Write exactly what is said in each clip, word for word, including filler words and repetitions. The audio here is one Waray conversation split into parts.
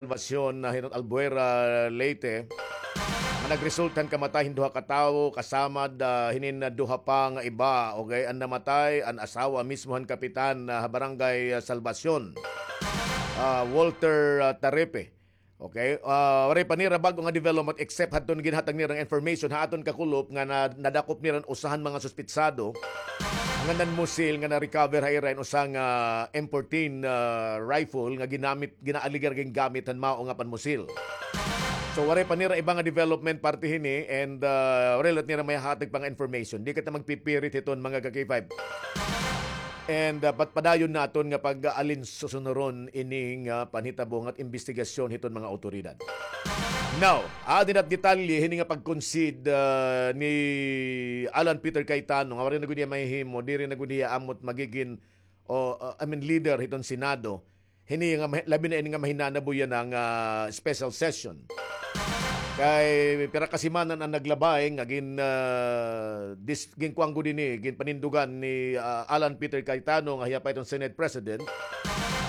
Salvacion, ah, hiton Albuera, Leyte, nga nagresulta han kamatay hin duha ka tawo, kasama, ah, hinin, ah, duha pa nga iba, okay, an namatay, an asawa mismo han kapitan, ah, ha Barangay, ah, Salvacion, ah, Walter, ah, Tarepe. Okay, ah, waray pa nira bag-o nga development except hadton ginhatag nira nga information ha aton kakulop nga na-, nadakop nira an usa han mga suspetsado nga nanmusil nga na-recover ha ira in usa nga M fourteen, ah, rifle nga ginamit, ginaaligar gingamit han mao nga panmusil. So, waray pa nira iba nga development parte hini and, ah, waray liwat nira mahihatag pa nga information. Di kita magpipirit hiton, mga ka-K five. And, ah, pat-, padayon naton nga pag-aalin susunuron ini nga panhitabo ngan imbestigasyon hiton mga awtoridad. Now, adi na it detalye hini nga pag-concede, ah, ni Alan Peter Cayetano nga waray na gud hiya mahihimo, diri na gud hiya amo it magigin o, uh, I mean, leader hiton Senado. Hini nga ma-, labi na ini nga mahinanabo yana nga special session. Kay pira ka semana na an naglabay nga gin, uh, dis-, ginkuan gud ini, ginpanindugan ni, uh, Alan Peter Cayetano nga hiya pa iton Senate President.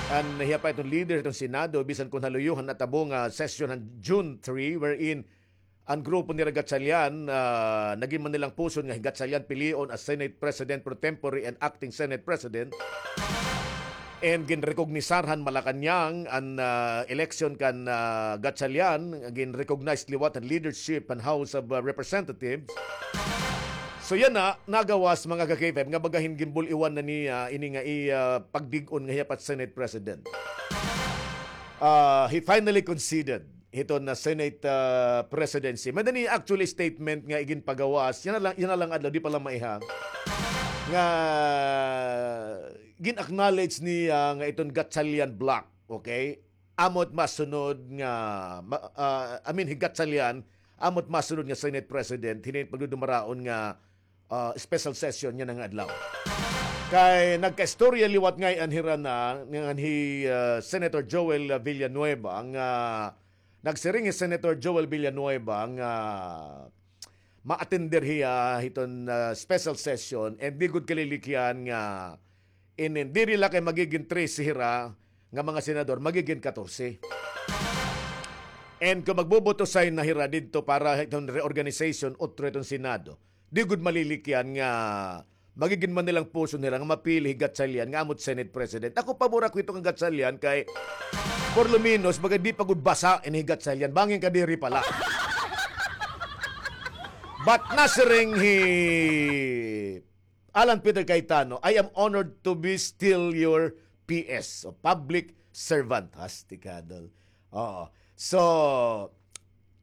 An hiya pa iton leader hiton Senado, bisan kon ha luyo han natabo nga session han June three, wherein an grupo nira Gatchalian, ah, nagin man nilang puson nga hi Gatchalian pilion as Senate President pro tempore and acting Senate President. And ginrekognisar han Malacañang an, ah, election kan, ah, Gatchalian, ginrecognize liwat han leadership han House of, ah, Representatives. So yana, nagawas, mga ka-K five, nga baga hin ginbul-iwan na niya ini nga iya pagdig-on nga hiya pa it Senate President. Ah, he finally conceded hiton nga Senate, ah, presidency. May-ada ini actually statement nga iginpagawas. Yana la, yana la nga adlaw, di pa la maiha. Nga gin-acknowledge niya nga iton Gatchalian bloc, okay? Amo it masunod nga, ma-, ah, I mean, hi Gatchalian, amo it masunod nga Senate President, hini pagdudumaraon nga ah, special session yana nga adlaw. Kay nagkaistorya liwat ngay-an hira na ngan hi, ah, Senator Joel Villanueva nga nagsiring hi Senator Joel Villanueva nga ma-attender hiya hiton, ah, special session and di gud kalilikyan nga inin diri la kay magigin trese hira nga mga senador, magigin katorse. And kung magboboto sign na hira didto para hiton reorganization, otro hiton Senado, di gud malilikyan nga magigin man nilang puson hira nga mapili hi Gatchalian nga amo it Senate President. Ako, pabor ako hito kan Gatchalian kay por lo menos, baga di pa gud basa ini hi Gatchalian. Bangin kadiri pa la. But nasiring hi Alan Peter Cayetano, "I am honored to be still your P S, o public servant." Hastikadol. Oo. So,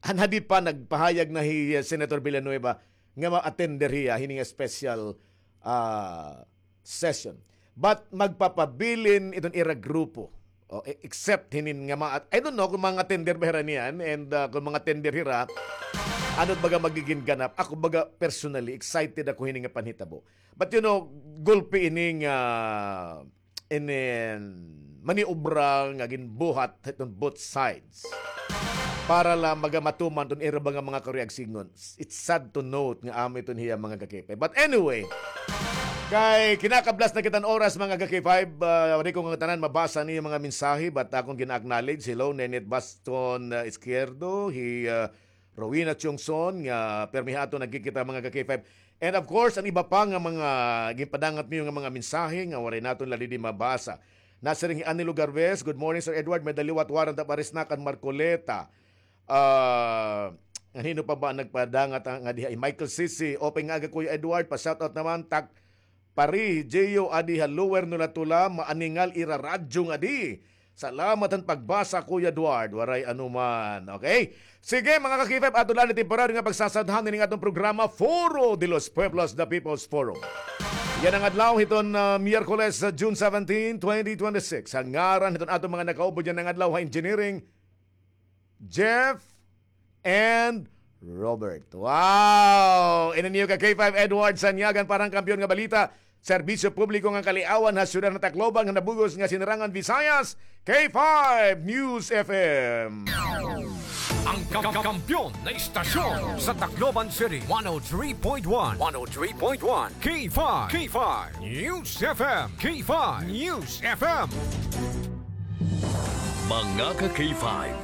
han hadi pa nagpahayag na hi, uh, Senator Villanueva nga ma-attender hiya hini nga special, ah, session. But magpapabilin iton ira grupo. O, e-, except hinin nga mga, I don't know kung mga attender ba hira niyan, and, ah, kung mga attender hira, ano it baga magigin ganap. Ako baga personally, excited ako hini nga panhitabo. But you know, gulpi ini nga, inin maniobra nga ginbuhat hiton both sides. Para la magamatuman iton ira ba nga mga karuyag sidngon. It's sad to note nga amo iton hiya mga ka-K five. But anyway, kay kinakablas na kita han oras, mga ka-K five, ah, waray ko ngatanan mabasa niyo mga mensahe, but akon gina-acknowledge. Hello, Nenit Baston, ah, Izquierdo, hi, ah, Rowena Chongson, nga pirmi ha aton nagkikita, mga ka-K five. And of course, an iba pa nga mga ginpadangat niyo nga mga mensahe nga waray naton la didi mabasa. Nasiring hi Anilo Garbes, "Good morning, Sir Edward. May-ada liwat warrant of arrest na kan Marcoleta." Ah, ngan hin-o pa ba an nagpadangat, ah, nga diha? Hi Michael Sisi, "Open nga aga, Kuya Edward, pa-shoutout naman tak pari Gio adi ha Lower Nolatula, maaningal ira radyo ngadi. Salamat han pagbasa, Kuya Edward, waray anuman." Okay? Sige, mga ka-K five, aton la ini temporary nga pagsasadhan hini nga aton programa, Foro de los Pueblos, the People's Forum. Yana nga adlaw hiton, ah, Miyerkules, ah, June seventeen, twenty twenty-six. Ha ngaran hiton aton mga nakaubo yana nga adlaw ha engineering, Jeff and Robert. Wow! Ini niyo ka-K five Edward Sanyagan para han Kampiyon nga Balita, Serbisyo Publiko ngan Kaliawan ha Syudad han Tacloban ngan ha bug-os nga Sinirangan Visayas, K five News F M. Ang ka-, kampiyon na istasyon sa Tacloban City, one oh three point one, one oh three point one, K five, K five News F M, K five News F M. Mga ka K five,